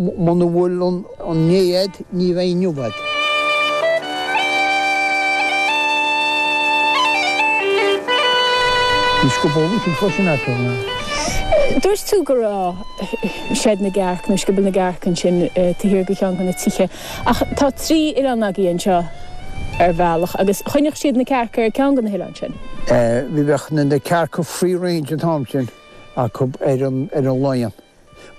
Muna bhfuil inné a'd, ní bheidh inniu a'd. Bhí scioból ansin freisin acu. Dúirt tú go raibh seid na gcearc nó scioból na gcearc ansin taobh thiar de cheann de na tithe ach tá trí oileán agaibh anseo ar bhealach agus choinneodh siad na cearca ar ceann de na hoileáin sin. Bhí bheadh na cearca free range an t-am sin acu ar an Laighean.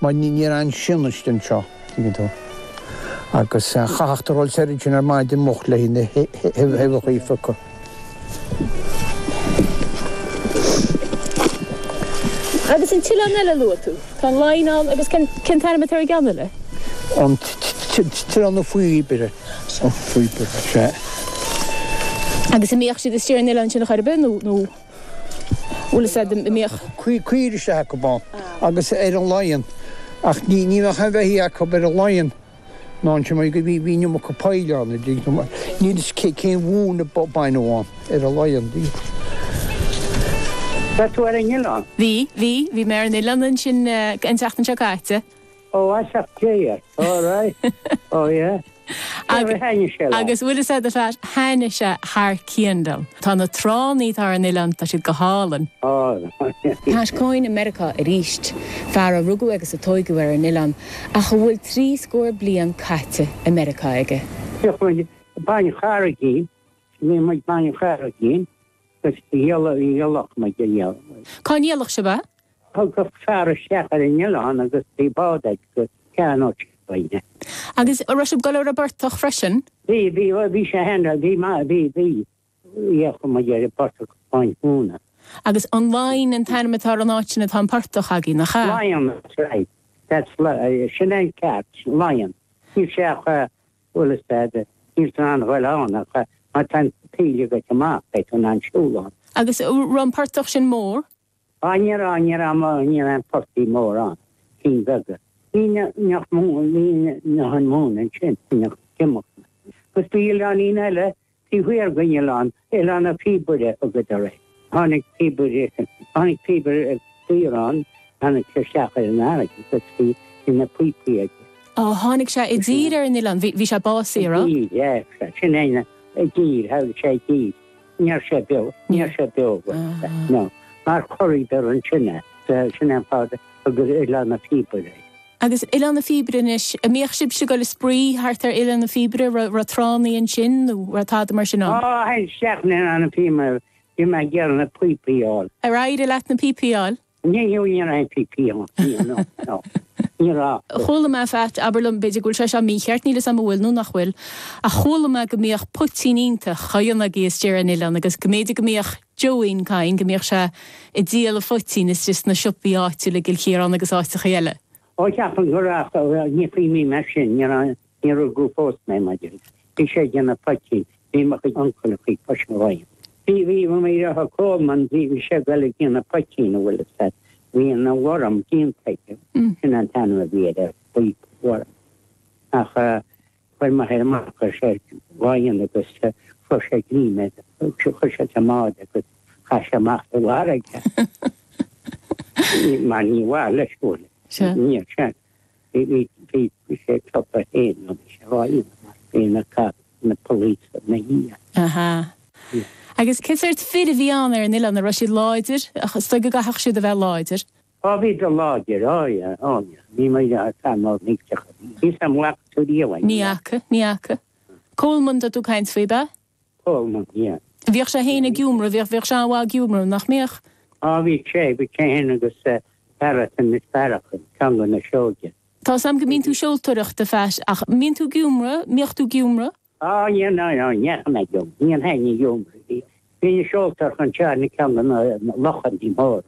Mar ní raibh aon sionnaist anseo, tuigeann tú. Agus chaithfeadh tú dhul soir ansin ar maidin moch le na huibheacha a phiocadh. Agus an t-oileán eile a luaigh tú, tá an Laighean ann agus cén t-ainm atá ar an gceann eile? An tOileán na Píobaire. An Phíobaire, sea. Agus an mbíodh siad istigh ar an oileán sin a chor ar bith nó? Bhfuil fhios a'd, an mbíodh. Caoirigh isteach acu ann agus ar an Laighean ach ní ní bheadh aon bheithígh acu ar an Laighean ná ansin mar bhí bhí an iomarca poill ann a dtuigeann tú mar níl fhios cé cén mhóin a baineadh ann ar an Laighean. Raibh tú ar an oileán? Bhí, bhí, bhí mé ar an oileán ansin an tseachtain seo caite. Ó, as Dé ort, all right, oh yeah. Cé ar thaitnigh sé leat? Agus bhfuil fhios a'd a Phat, thaitnigh sé thar cionn liom. Tá na tránna atá ar an oileán, tá siad go hálainn. Oh. Pat Coyne i Meiriceá arís, fear a rugadh agus a tóigeadh ar an oileán, ach a bhfuil 30 bliain caite i Meiriceá aige. Bhíodh muid ag Baile an Charraigín, bhí muid ag Baile an Charraigín agus dhíolfadh muid a dhíol. Cá ndíolfadh sibh é? Thagadh fear isteach ar an oileán agus bhí bád aige agus cheannódh sé uainne. Agus an raibh sibh ag dul ar an bportach freisin? Bhí, bhí, bhí sé fhéin, bhí, bhí, bhí, dheachaigh muid ar an bportach Bain Mhóna. Agus an Laighean an t-ainm atá ar an áit sin atá an portach agaibh, nach ea? Laighean, that's right, that's, sin é an ceart, Laighean. Níl sé ach, bhfuil fhios a'd, níl tú in ann a ghoil ann ach má tá an taoille agat amach, beidh tú in ann siúl ann. Agus an raibh an portach sin mór? Á ní raibh, ní raibh, ní raibh aon phortaigh mór ann, cinn bheaga. Ní nach mó, ní nach an mhóin ansin, nach dtiomach. Agus bhí oileáinín eile taobh thiar den oileán, Oileán na Píobaire a thugadar air. Tháinig píobaire, tháinig píobaire saor ann, tháinig sé isteach ar an fharraige agus bhí na píopaí aige. Á, tháinig sé i dtír ar an oileán, bhí, bhí sé básaithe, an raibh? I dtír, yeah, sin é, i dtír, tháinig sé i dtír. Ní raibh sé beo, ní raibh sé beo, no. Mar chorraíodar ansin é, sin é an fáth a thugadar Oileán na Píobaire air. Agus Oileán na Píobaire anois, an mbíodh sibhse ag dul ag spraoi thart ar Oileán na Píobaire, raibh, raibh tránnaí ansin nó raibh tada mar sin ann? Á, théinn isteach in Oileán na Píobaire, bhí mé ag iarraidh na píopaí a fháil. Ar éirigh leat na píopaí a fháil? Ní ní raibh aon phíopaí ann, ní, no, no, ní raibh. Chuala mé, Phat, abair liom, b'fhéidir go bhfuil sé seo mícheart, níl 'fhios a'm an bhfuil nó nach bhfuil, ach chuala mé go mbíodh poitín iontach á dhéanamh agaibh istigh ar an oileán agus go mb'fhéidir go mbíodh Joeín Coyne, go mbíodh sé ag díol an phoitín istigh sna siopaí áitiúla i gCill Chiaráin agus áiteachaí eile. Ó, ceapaim go raibh, ní chuimhním air sin, ní raibh, Ní rugadh fós mé, maidir. Bhí sé ag déanamh poitín. Bhí mo chuid uncail faoi chois an Laighean. Bhí, bhí, mo dheartháir Coleman, bhí, bhí sé ag dul ag déanamh poitín, an bhfuil fhios a'd. Bhí an worm déanta aige. Sin an t-ainm a bhí air, buí worm. Ach chuir m'athair amach, chuir sé dhá dhéanamh agus chuir sé greim air, chuir sé sa mbád agus chaith sé amach sa bhfarraige. Mar ní mhaith leis, bhfuil. Níor sin. Bhí sé ag ciapadh féin nó bhí sé á dhéanamh mar bhí na cop, na police ina dhiaidh. Aha. Agus cén sórt fir a bhí ann ar an oileán? An raibh siad láidir? Is dóigh go gcaithfeadh siad a bheith láidir. Á bhíodar láidir, á yeah, á yeah. Bhí mo dheartháir fear mór millteach a bhí. Níl 'fhios a'm an bhfaca tú riamh é. Ní fhaca, ní fhaca. Coleman tá tú ag caint faoi, ab ea? Coleman, yeah. Bhíodh sé féin ag iomramh, bhíodh, bhíodh sé an-mhaith ag iomramh, nach mbíodh? Á bhí sé, bhí sé féin agus fear as Inis Bearach, ceann de na Seoige. Tá 'fhios a'm go mbíonn tú seoltóireacht, a Phat, ach mbíonn tú ag iomramh, mbíodh tú ag iomramh? Á ní, no, no, ní dheachaigh mé ag iomramh, ní théinn ag iomramh. Bhí, bhí na seoltóireacht anseo ar na ceann de na lochanna móra,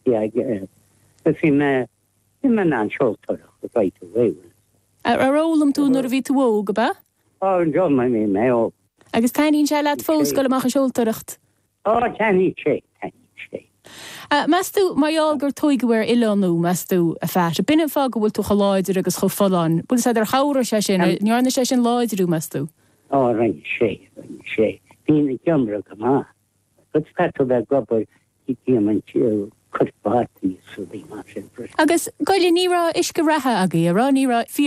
yeah, agus bhí mé, Bhí mé in ann seoltóireacht right away bhfuil. Ar fhoghlaim tú nuair a bhí tú óg, ab ea? Á, d'fhoghlaim mé mé óg. Agus taitníonn sé leat fós dul amach ag seoltóireacht? Á, taitníonn sé, taitníonn sé. Meas tú, mar gheall gur tóigeadh ar oileán thú, meas tú, a Phat, b'in an fáth go bhfuil tú chomh láidir agus chomh folláin? Bhfuil 'fhios a'd ar chabhraigh sé sin, an ndearna sé sin láidriú, meas tú? Á, rinne sé, rinne sé. Bhínn ag iomramh go maith. Agus caithfidh tú bheith ag obair déanann cuid prátaí is rudaí mar sin freisin. Agus, goile, ní raibh uisce reatha agaibh, a' raibh? Ní raibh.